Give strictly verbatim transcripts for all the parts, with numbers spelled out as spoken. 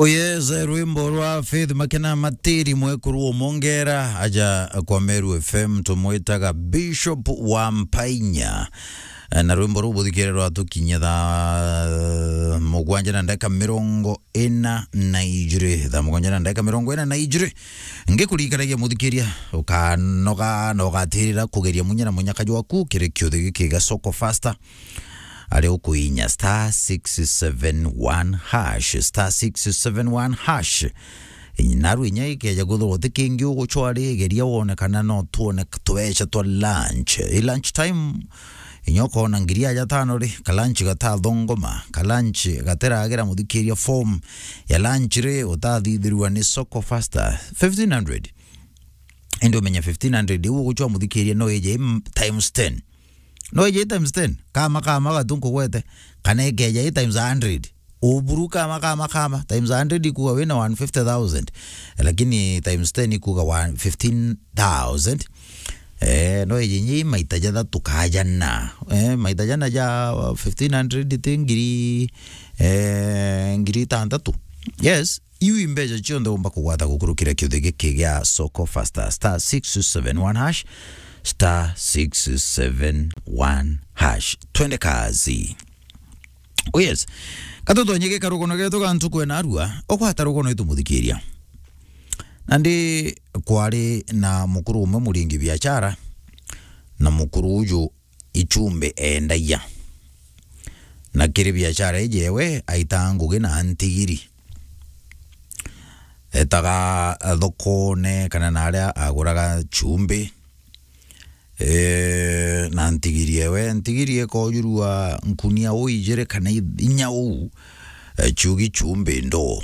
Oh yes, rwimbo rwa Faith Makena Matiri, mwekuru omongera aja kwa Meru F M, tumwitaga Bishop wa Mpainya. Eh, na rwimbo ruu buthikire rwatukinya thaa mugwanja na ndagika mirongo ina na ijiri, thaa mugwanja na ndagika mirongo ina na ijiri. Ngikuririkanagia muthikiria, ukanoga na ugatirira kugeria munya na munyaka jwaku kiri kiuthi giki gia Soko Faster. Ari ukuinya star six seven one hash, star six seven one hash. Naru inya ikeja kwithirwa ti kingi ugucwa ri, geria wone kana no twone tubeca twa lunch. I lunch time, inya ukona ngiri aja tano ri, ka lunch gatathongoma, ka lunch gatiragira muthikiria form ya lunch ri, utathithirua ni Soko Faster. Fifteen hundred. Indi umenya fifteen hundred iu ugucwa muthikiria no ije i m-, times ten. No ije i times ten. Kama, kama, gatu nkugwete. Kana ikeja i times a hundred. Uburu kama, kama, kama. Times a hundred ikuga wina one fifty thousand. Lakini times ten ikuga one, fifteen thousand. Eh, no ije nyi maita jathatu ka jana. Eh, maita jana ja fifteen hundred ti ngiri, eh, ngiri itantatu. Yes. Iu i mbeca cionthe umba kugwata gukurukira kiuthi giki gia Soko Faster, star six seven one hash, star six seven one hash. Twende kazi. Oh yes. Katutonye gikarugono getu ga ntuku ena arua, ugwata rugono itu muthikiria. Nandi kwari na mukuru umwe muringi biashara, na mukuru uju ichumbi endagia. Na kiri biashara iji ewe aitaga ngugi na ntigiri. Etaga thokone kana na aria aguraga chumbi. Eh, na ntigiri ewe, ntigiri ekojurua nkunia uu ijiri kana i-, inya uu, eh, chugi chumbi ndoo.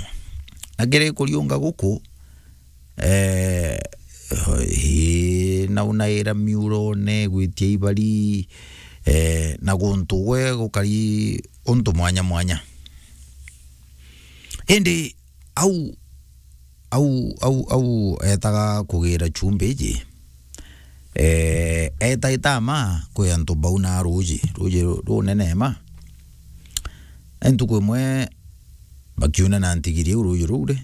Na kiri kuriunga guku, eh, ii, naunaira miurone, gwitia ibari, eh, na guntu gwe gukari untu mwanya mwanya. Indi au, au, au, au etaga kugira chumbi iji, eh, eta itama kwi antu bauna ruji, ruji ru-, runene ma. Na ntuku imwe bakiuna na ntigiri iu ruji ruu ri,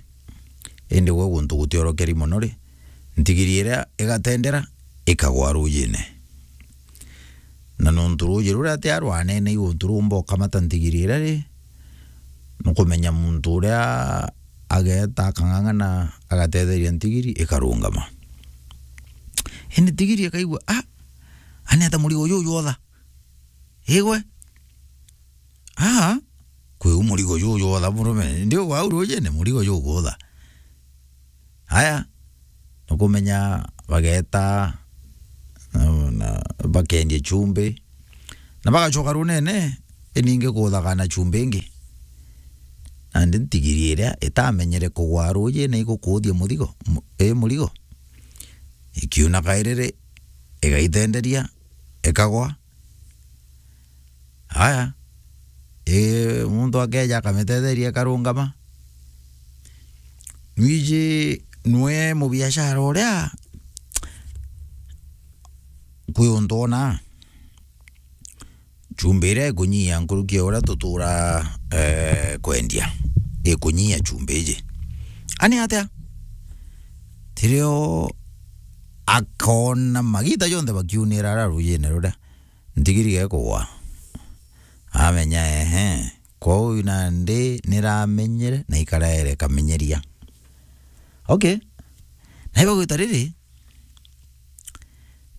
indi gwe guntu gutiorokeri mono ri, ntigiri iria igatendera ikagwa rujine. Na nontu ruji ruria atia rwanene i guntu rumba ukamata ntigiri iria ri, nukumenya muntu uria ageta akang'ang'ana agatetheria ntigiri ikarungama. Indi ntigiri ikaigua, "Ah, ani ata murigo juju jwotha? Igwe? Ah, kwi u murigo juju jwotha murume? Ndi ugwa au rujine murigo juju jwotha?" Aya, nukumenya bageta, na, na bakendia chumbi, na bagacoka runene, iningi kuthaga na chumbi ingi. Nandi ntigiri iria itamenyere kugwa rujine igukuthia muthigo, mu-, i murigo, ikiuna kairiri, igaitenderia, ikagwa. Aya, ii, muntu akeja akamitetheria ikarungama. Nwiji nwe mubiashara uria, kwi untu ona chumbi iria ikunyia nkuruki ya uria tutura, eh, kwendia, ikunyia chumbi iji. Ani atia? Tirio akona magita jonthe bakiunira ara rujine ruria. Ntigiri gekugwa. Amenya, ehe. Kwou nandi niramenyere na ikaraere kamenyeria. Okay. Na ibagwita riri,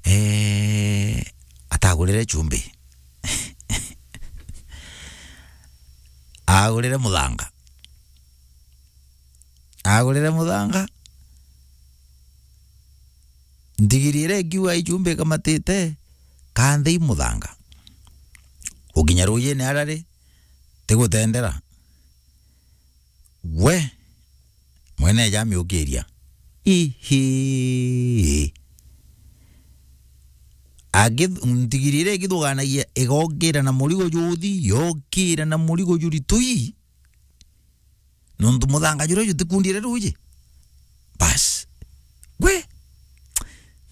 eh, atagurire chumbi. Agurire muthanga. Agurire muthanga. Ntigiri iria ikiuga ichumbi ikamatite, kanthi i muthanga. Gukinya rujine ara ri, tigutendera. We, mwene eja amiukiria. Ihi. Agi-, ntigiri iria igithuganagia igokira na murigo juthi, yokira na murigo juritu ii. Nontu muthanga juria jutikundire ruji. Bas. Gwe.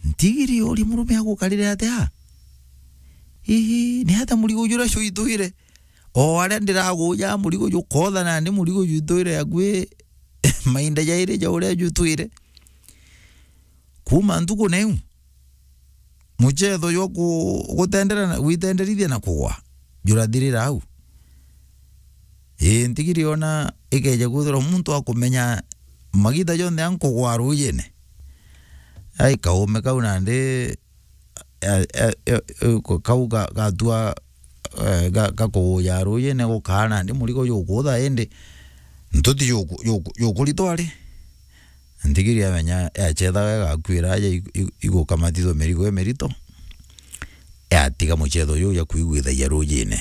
Ntigiri uria murume agukarire atia? Hihi, ni atia murigo juria juitwire? O aria ndiraguja murigo jukotha nandi murigo juitwire akui Mainda jairi ja uria jutwire. Kuuma ntuku na iu, muchetho jwa ku-, gutendera na, gwitenderithia na kugwa, jurathirira au. Ii, ntigiri ona ikeja kwithirwa muntu akumenya magita jonthe ankugwa ruujine. Ai, kaume kau nandi, eh, eh, eh, eh, kau ga-, gatua, eh, ga-, gakuguja ruujine gukaa nandi murigo jukuutha indi ntuti juku-, juku-, jukuritwa ri. Ntigiri amenya yachethaga igakuira aja i-, i-, igukamatithwa mirigo imirito, yatiga muchetho juu ja kwiguithagia ruujine.